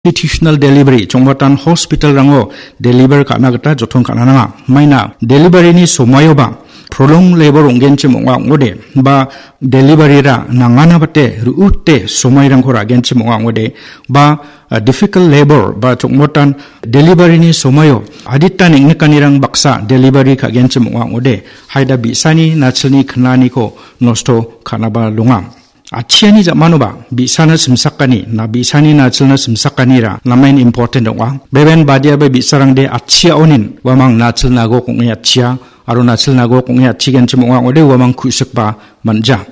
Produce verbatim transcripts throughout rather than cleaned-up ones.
Institutional delivery, chongmatan hospital-rango deliver ka·na gita joton ka·na nanga. Maina delivery-ni somaioba prolong labor ong·genchim ong·a ong·ode, ba delivery-ra nangana bate ru·ute somairangko ra·genchim ong·a ong·ode, ba, ah, difficult labor, ba chongmatan delivery-ni somaio adita neng·nikanirang baksa delivery ka·genchim ong·a ong·ode, haida bi·sani nachilni knaniko nosto ka·naba donga. Atchiani jamanoba, bi·sana simsakani, na bi·sani nachilna simsakanira, namen important ong·a. Beben badiaba bi·sarangde atchiaonin, uamang nachil nagok ong·e atchia, aro nachil nagok ong·e atchigenchim ong·a ong·ode, uamang ku·sikba man·ja.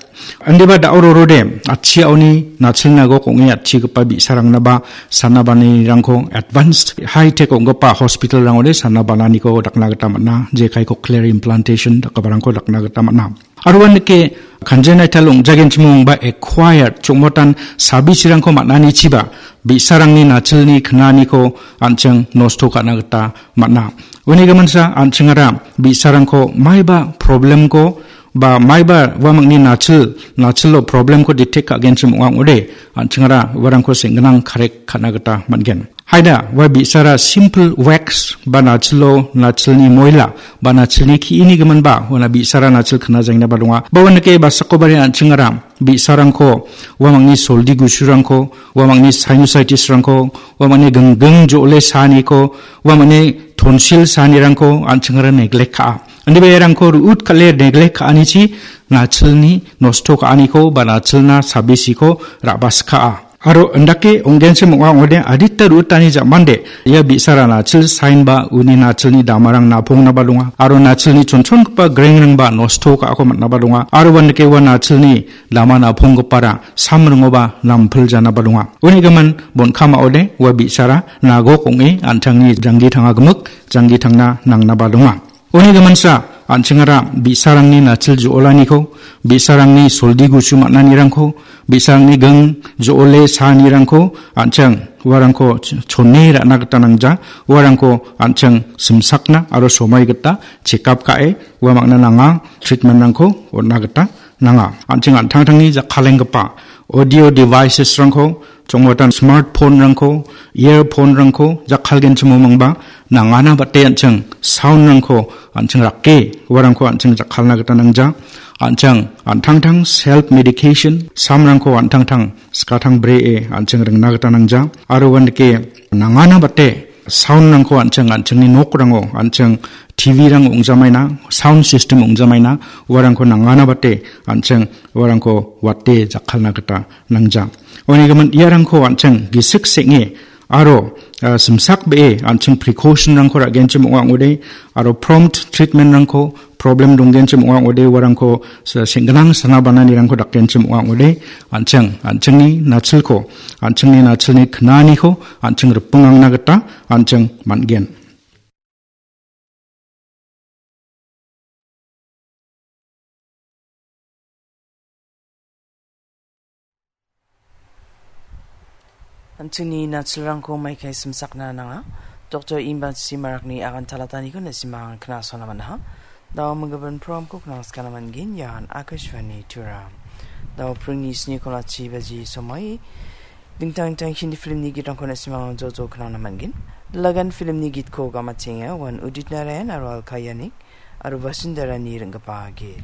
Indiba da·o rorode, atchiaoni nachil nagok ong·e atchigipa bi·sarangnaba, sana bananirangko advanced high-tech ong·gipa hospital-rangode sana bananiko dakna gita man·a, jekai cochlear implantation dakgiparangko dakna gita man·a. Aro uandake congenital ong·jagenchimongba acquired chongmotan sabisirangko man·anichiba bi·sarangni nachilni knaniko an·ching nosto ka·na gita man·a. Uni giminsa an·chingara bi·sarangko maiba problemko ba maiba uamangni nachil, nachilo problemko detect ka·genchim ong·a ong·ode, an·chingara uarangko seng·ginang correct ka·na gita man·gen. Haida, ua bi·sara simple wax ba nachilo, nachilni moila ba nachilni ki·ini giminba, uana bi·sara nachil knajaingnaba donga. Ba uandake basakobari an·chingara bi·sarangko, uamangni soldi gusurangko, uamangni sinusitis-rangko, uamangni gingging jo·ole saaniko, uamangni tonsil saanirangko an·chingara neglect ka·a. Indiba iarangko ru·ut kale neglect ka·anichi nachilni nosto ka·aniko ba nachilna sabisiko ra·baska·a. Aro indake ong·genchim ong·a ong·ode adita ru·utani ja·mande ia bi·sara nachil sign ba uni nachilni damarang napongnaba donga. Aro nachilni chonchongipa grengrangba nosto ka·ako man·naba donga. Aro uandake ua nachilni dama naponggipara samringoba nampiljanaba donga. Uni gimin bonkamao de ua bi·sara nagok ong·e an·tangni janggi tanga gimik, janggi tangna nangnaba donga. Uni giminsa, an·chingara bi·sarangni nachil jo·olaniko, bi·sarangni soldi gusu man·anirangko, bi·sarangni ging jo·ole saanirangko, an·ching uarangko ch-, chone ra·na gita nangja, uarangko an·ching simsakna aro somoi gita check up ka·e, ua mangna nanga treatment-rangko on·na gita nanga. An·ching an·tangtangni jakkalenggipa audio devices-rangko, chongmotan smartphone-rangko, earphone-rangko jakkalgenchimo mangba nangana bate an·ching sound-rangko an·ching rake, uarangko an·ching jakkalna gita nangja. An·ching an·tangtang self medication, samrangko an·tangtang skatang bree an·ching ringna gita nangja. Aro uandake nangana bate sound-rangko an·ching, an·chingni nokrango, an·ching T V-rang ong·jamaina, sound system ong·jamaina, uarangko nangana bate an·ching uarangko wate jakkalna gita nangja. Uni gimin iarangko an·ching gisik seng·e aro, ah, simsak be·e an·ching precaution-rangko ra·genchim ong·a ong·ode, aro prompt treatment-rangko, problem donggenchim ong·a ong·ode, uarangko se-, seng·ginang sana bananirangko dakgenchim ong·a ong·ode, an·ching, an·chingni nachilko, an·chingni nachilni knaniko, an·ching ripingangna gita, an·ching man·gen. An·chingni nachilrangko maikai simsakna nanga. Doktor Imbachi Marakni agan talataniko na·simang knasona man·aha. Dao minggimin programko knasgana man·gen, ian Akashvani Tura. Dao pringni sni kona chi baji somoi. Dingtang dingtang Hindi filmni gitrangko na·simang jojo knana man·gen. Lagan filmni gitko gamatenga, wan Udit Narayan aro Alka Yanik, aro Vasundharani ring·gipa git.